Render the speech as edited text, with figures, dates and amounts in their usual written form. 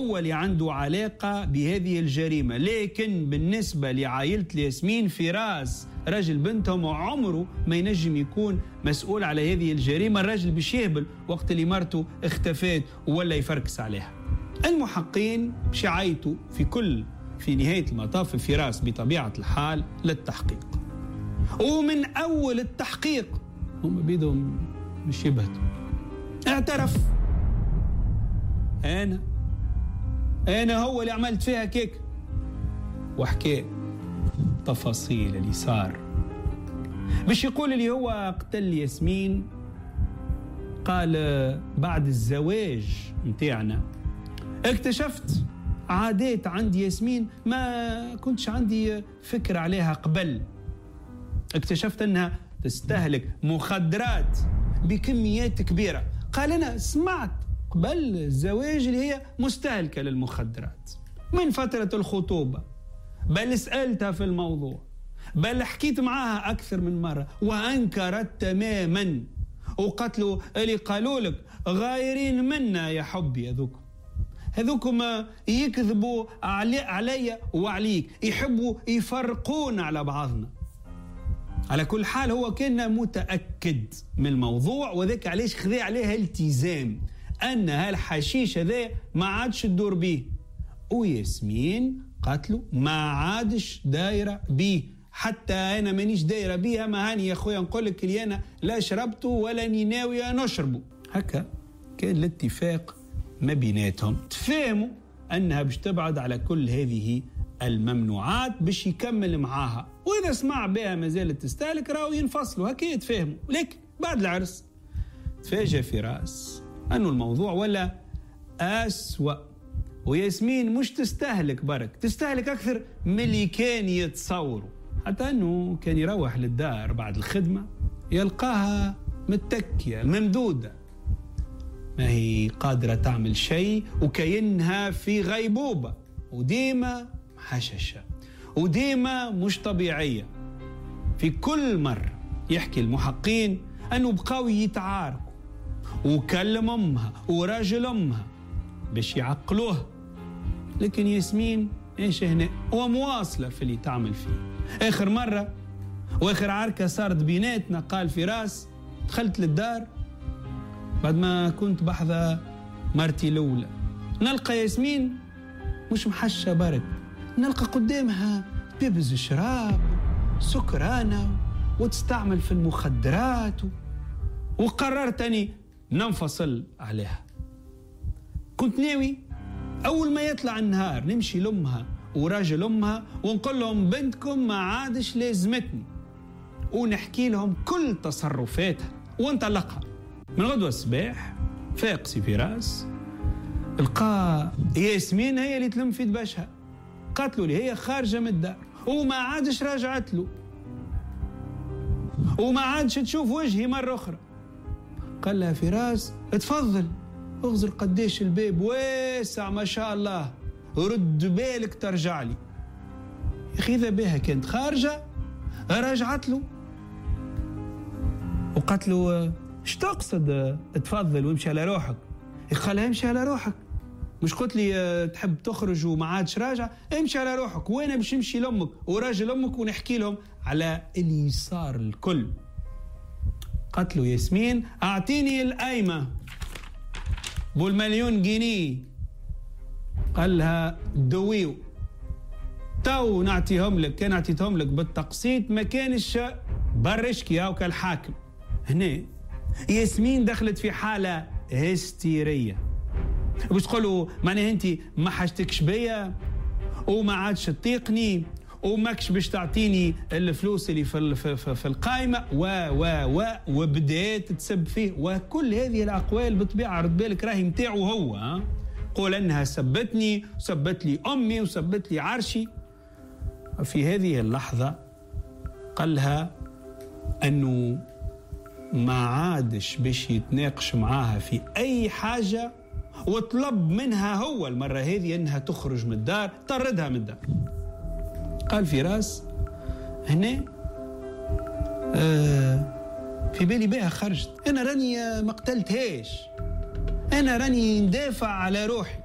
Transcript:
هو اللي عنده علاقة بهذه الجريمة. لكن بالنسبة لعائلة ياسمين، فراس رجل بنتهم عمره ما ينجم يكون مسؤول على هذه الجريمة. الرجل باش يهبل وقت اللي مرته اختفت ولا يفركس عليها. المحقين باش يعيطوا في نهاية المطاف فراس بطبيعة الحال للتحقيق، ومن أول التحقيق هم بيدهم مش يبهتوا. اعترف، أنا هو اللي عملت فيها كيك، وحكي تفاصيل اللي صار. باش يقول اللي هو قتل ياسمين، قال بعد الزواج متاعنا اكتشفت عادات عند ياسمين ما كنتش عندي فكرة عليها قبل. اكتشفت أنها تستهلك مخدرات بكميات كبيرة. قال أنا سمعت قبل الزواج اللي هي مستهلكة للمخدرات من فترة الخطوبة، بل سألتها في الموضوع، بل حكيت معاها أكثر من مرة وأنكرت تماما، وقتلوا اللي قالوا لك غايرين منا يا حبي، هذوكم يكذبوا علي وعليك، يحبوا يفرقون على بعضنا. على كل حال هو كان متأكد من الموضوع، وذاك علاش خذا عليها التزام أن هالحشيش هذا ما عادش تدور به. وياسمين قالت ما عادش دايرة به، حتى أنا مانيش دايرة بيها، ما هاني يا خويا نقول لك اللي أنا لا شربته ولا ني ناوية نشربه. هكا كان الاتفاق ما بيناتهم، تفهموا أنها باش تبعد على كل هذه الممنوعات باش يكمل معاها، وإذا سمع بها ما زالت تستهلك راهو ينفصلوا. هكا يتفاهموا. لكن بعد العرس تفاجأ فراس أنه الموضوع ولا أسوأ، وياسمين مش تستهلك برك، تستهلك أكثر من اللي كان يتصوروا. حتى أنه كان يروح للدار بعد الخدمة يلقاها متكية ممدودة، ما هي قادرة تعمل شيء، وكأنها في غيبوبة، وديما حششة وديما مش طبيعية. في كل مرة يحكي المحقين أنه بقاو يتعاركوا، وكلم أمها وراجل أمها باش يعقلوها، لكن ياسمين ايش هنا ومواصلة في اللي تعمل فيه. آخر مرة وآخر عركة صارت بيناتنا، قال فراس، دخلت للدار بعد ما كنت بحذا مرتي الأولى، نلقى ياسمين مش محشة برك، نلقى قدامها بيبز شراب سكرانة وتستعمل في المخدرات، وقررت أني ننفصل عليها. كنت ناوي أول ما يطلع النهار نمشي لأمها وراجل أمها ونقول لهم بنتكم ما عادش لازمتني، ونحكي لهم كل تصرفاتها ونطلقها. من غدوة الصباح فاق سي فراس، لقى ياسمين هي اللي تلم في دبشها، قالت له هي خارجة من الدار وما عادش راجعت له وما عادش تشوف وجهي مرة أخرى. قال لها فراس اتفضل، اغزر قديش الباب واسع ما شاء الله، رد بالك ترجع لي. يا أخي إذا بها كانت خارجة راجعت له وقالت له اش تقصد اتفضل وامشي على روحك؟ قال لها امشي على روحك، مش قلت لي تحب تخرج وما عادش راجع؟ امشي على روحك وانا باش نمشي لامك وراجل امك ونحكي لهم على اللي صار الكل. قالت له ياسمين اعطيني القايمه بالمليون جنيه. قال لها دويو تو نعطيهم لك، كان اعطيتهم لك بالتقسيط ما كانش برشكي او كالحاكم. هنا ياسمين دخلت في حاله هستيريه، باش تقولوا معناها انت ما حاجتكش بيا وما عادش تطيقني وماكش باش تعطيني الفلوس اللي في القائمه و و و وبدات تسب فيه. وكل هذه الاقوال بطبيعه رد بالك راهي نتاعو هو، قول انها سبتني وسبت لي امي وسبت لي عرشي. في هذه اللحظه قال لها انه ما عادش باش يتناقش معاها في اي حاجه، وطلب منها هو المرة هذه أنها تخرج من الدار، طردها من الدار. قال فراس هنا في بالي بها خرجت، أنا راني ما قتلتهاش، أنا راني ندافع على روحي.